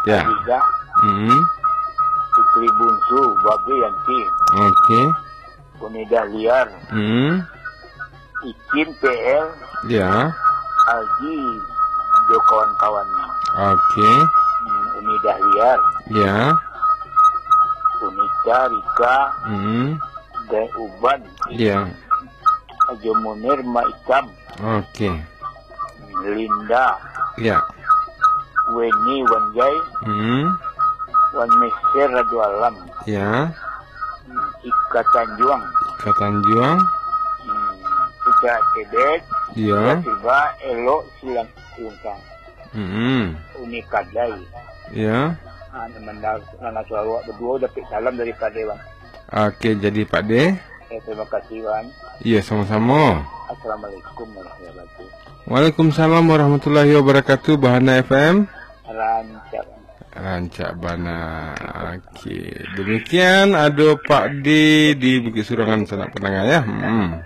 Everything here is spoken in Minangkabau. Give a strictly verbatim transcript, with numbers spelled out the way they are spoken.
Ya. Aziza, Hmm. Putri Bungsu, Babe Yanti, Oke. Uni Dahliar, Hmm. Icin P L, Ya. Haji jo kawan-kawannyo. Oke. Hmm, Uni Dahliar, Ya. Unita, Rika, Hmm. Dek Uban, Ya. Haji Munir, Mak Ikam, Oke. Linda, Ya. Weni, Wanjai, Hmm. Wan Mister, Radu Alam, Ya. Ika Tanjuang, Ika Tanjuang. Hmm, Ika Tebet, Ya. Tiba-tiba elok silang lungkang. Hmm. Uni Kadai. Ya. Ah, nan mandar-, nan suaro awak baduo dapek salam dari Kadai, Bang. Oke, jadi Pak De. Ya, terima kasih, Bang. Iya, sama-sama. Assalamualaikum warahmatullahi wabarakatuh. Waalaikumsalam warahmatullahi wabarakatuh, Bahana F M. Rancak. Rancak bana. Oke. Demikian ado Pak De di Bukit Surangan, sanak pandanga, ya. Hmm.